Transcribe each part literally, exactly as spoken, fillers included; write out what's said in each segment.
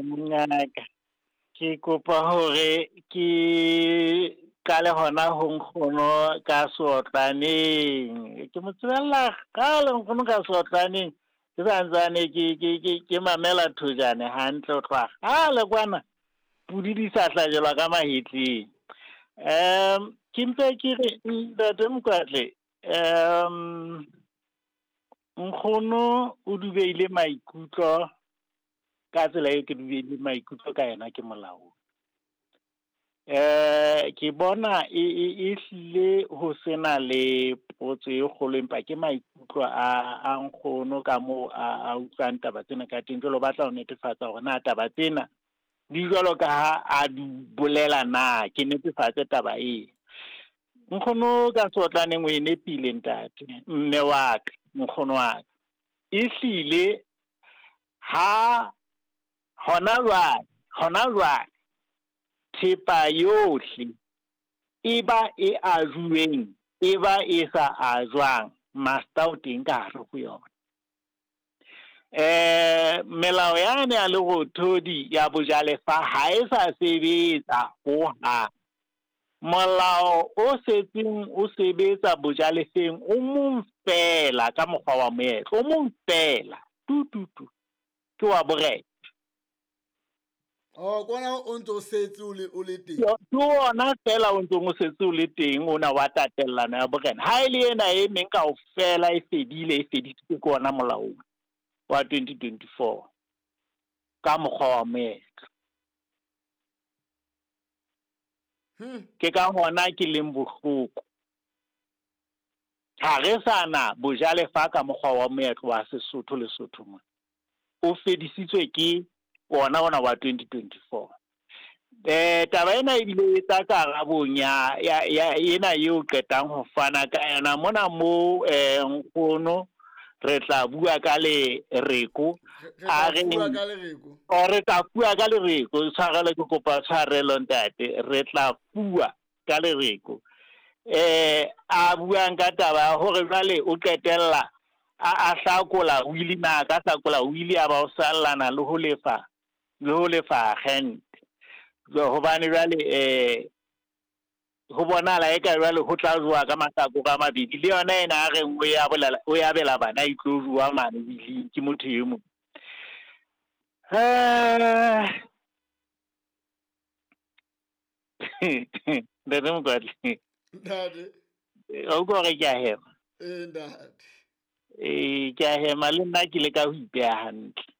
Mongaka, ke kopa hore ke qale hona ho nkgono ka seotlaneng. Ke mo tsebella kgale nkgono ka seotlaneng. Ke santsane ke ke ke ke mamela thojane hantle ho tloha kgale kwana. Pudi di sa hlajelwa ka mahetleng. Um ke mpe ke re ntate Mokwatle, um nkgono o dubeile maikutlo ka tsela eo ke dubeile maikutlo ka yena ke molao. Eh ke bona e e e hlile ho sena le potso e kgolo, empa ke maikutlo a a nkgono ka moo a a utlwang taba tsena ka teng. Jwale o batla ho netefatsa hore na taba tsena di jwalo ka ha a di bolela na, ke netefatse taba e. Nkgono ka seotlaneng o e nepile ntate, mme wa ka, nkgono wa ka. E hlile ha hona jwale, hona jwale thepa yohle e ba e ajuweng, e ba e sa ajwang, master o teng ka hare ho yona. Eh melao yane ya lerothodi ya bojalefa ha e sa sebetsa hohang. Molao o setseng o sebetsa bojalefeng o mong fela ka mokgwa wa moetlo, o mong fela tu tu tu, ke wa borena. Oh, kona o ntso setse o le o le teng. Ke ona fela o ntsong o setse o le teng ona wa tatellano ya borena. Ha e le ena e meng kaofela e fedile, e fedisitswe ke ona molao wa twenty twenty-four ka mokgwa wa moetlo. Hmm. Ke ka hona ke leng bohloko. Ha re sa na bojalefa ka mokgwa wa moetlo wa Sesotho le Sotho mona. O fedisitswe ke ona ona wa twenty twenty-four. Eh taba ena ebile e tla karabong ya ya ya ena eo qetang ho fana ka yona mona mo eh nkgono re tla bua ka lereko. Re A tla re bua ka lereko. O re tla bua ka lereko, tshwarelo ke kopa tshwarelo ntate, re tla bua ka lereko. Eh a buang ka taba ya hore jwale o qetella a a hlakola wili na ka hlakola wili a ba o sallana le ho lefa le ho lefa agent. Hobane jwale eh ho bonahala eka jwale ho tla jowa ka mahlakore a mabedi, le yona ena a reng o ya bolela, o ya bela bana e tlo jowa mane willing ke motho e mong. Eh Ntate Mokwatle. Ntate. O utlwa hore ke a hema? Eh, ntate. Eh, ke a hema le nna ke leka ho ipeha hantle.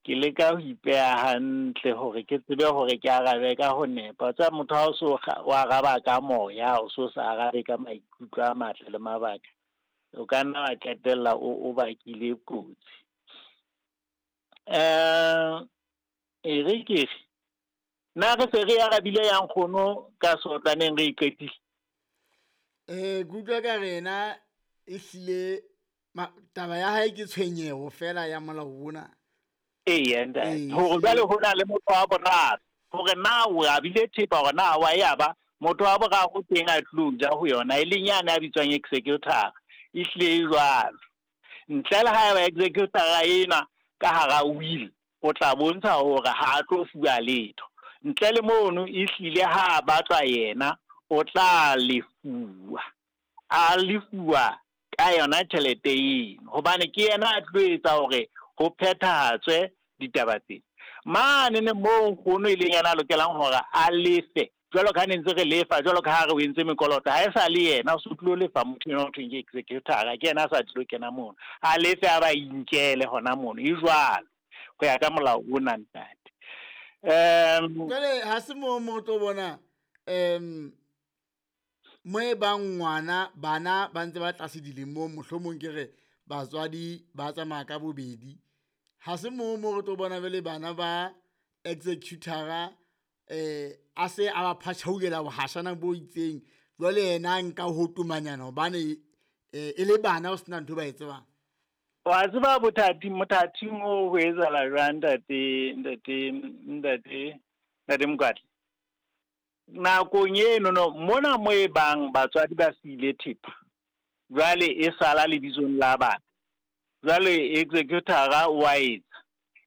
Ke leka ho ipeha hantle hore ke tsebe hore ke arabe ka ho nepa. Tsa motho ha o so kga-, o araba ka moya, o so sa arabe ka maikutlo a matle le mabaka, o ka nna wa qetella o, o bakile kotsi. Eh, e re ke re, na re se re arabile ya nkgono ka seotlaneng re iqetile? Eh, ke utlwa ka rena ehlile ma-, taba ya hae ke tshwenyeho fela ya molao ona. Eya, ntate. Ee. Hore jwale ho na le motho wa boraro, hore na o abile thepa hore na wa ya ba motho wa boraro teng a tlo ja ho yona, e leng yane a bitswang executor, e hlile e jwalo. Ntle le ha eba executor ena ka hara will, o tla bontsha hore ha a tlo fuwa letho. Ntle le mono e hlile ha a batlwa yena, o tla lefuwa. A lefuwa ka yona tjhelete eno, hobane ke yena a tlo etsa hore ho phethahatswe ditaba tsena. Mane ne moo nkgono e leng yena a lokelang hore a lefe, jwalo ka ha ne ntse re lefa, jwalo ka ha re o entse mekoloto, ha e sa le yena, o se tlo lefa motho enwa ho thweng ke executor, ke yena a sa tlo kena mono. A lefe a ba inkele hona mono, e jwalo ho ya ka molao ona ntate. Em, Jwale ha se moo mo tlo bona, em, mo e bang ngwana, bana ba ntse ba tlase dilemong, mohlomong ke re batswadi ba tsamaya ka bobedi. Ha se moo mo re tlo bona jwale bana ba executor-a, eh, a se a ba phatjhaulela bohashana bo itseng, jwale yena a nka ho tomanyana hobane, eh, e le bana ho sena ntho ba e tsebang. Wa tseba bothati, mothating oo ho etsahala jwang, ntate, ntate, ntate, ntate Mokwatle? Nakong eno no, mona mo e bang batswadi ba siile thepa, jwale e sala lebitsong la bana. Jwale executor-a wa etsa,